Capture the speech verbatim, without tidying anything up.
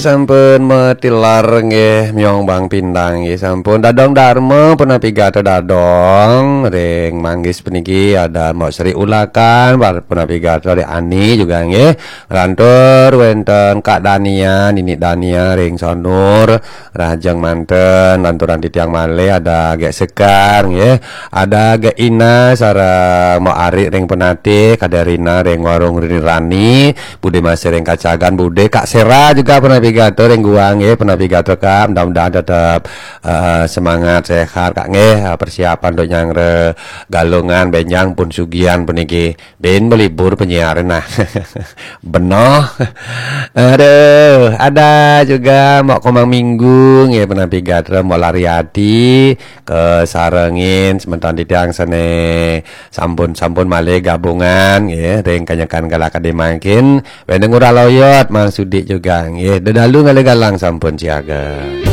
Sampun matilar nggih, Myong Bang Pindang nggih, sampun. Dadong Darma punapi gatra dadong, ring Manggis puniki ada Mbok Sri Ulakan, punapi gatra ring Ani juga nggih. Lantur wenten Kak Dania, Nini Dania ring Sonur, rahajeng manten, lanturan titiang malih ada Gek Sekar nggih. Ada Gek Ina sareng Mbok Ari ring Penatih, Kaderina ring Warung Rini Rani, Bude masih ring Kacagan, Bude, Kak Sera juga punapi gatra ring Guang nggih, punapi gatra Kak, mudah-mudahan tetap eh, semangat, sehat Kak nggih, eh, persiapan untuk nyanggra Galungan, benjang pun sugihan puniki. Bin belibur penyiar nah. Benoh. Aduh, ada juga Mbok Komang Minggu nggih, punapi gatra Mbok Lariati, kesarengin semeton titiang sane sampun-sampun malih gabungan nggih, ring kanyekan kala kadi mangkin. Wénten Ngurah Loyot, Mang Sudi juga nggih. Dedalu ngalih galang sampun siaga.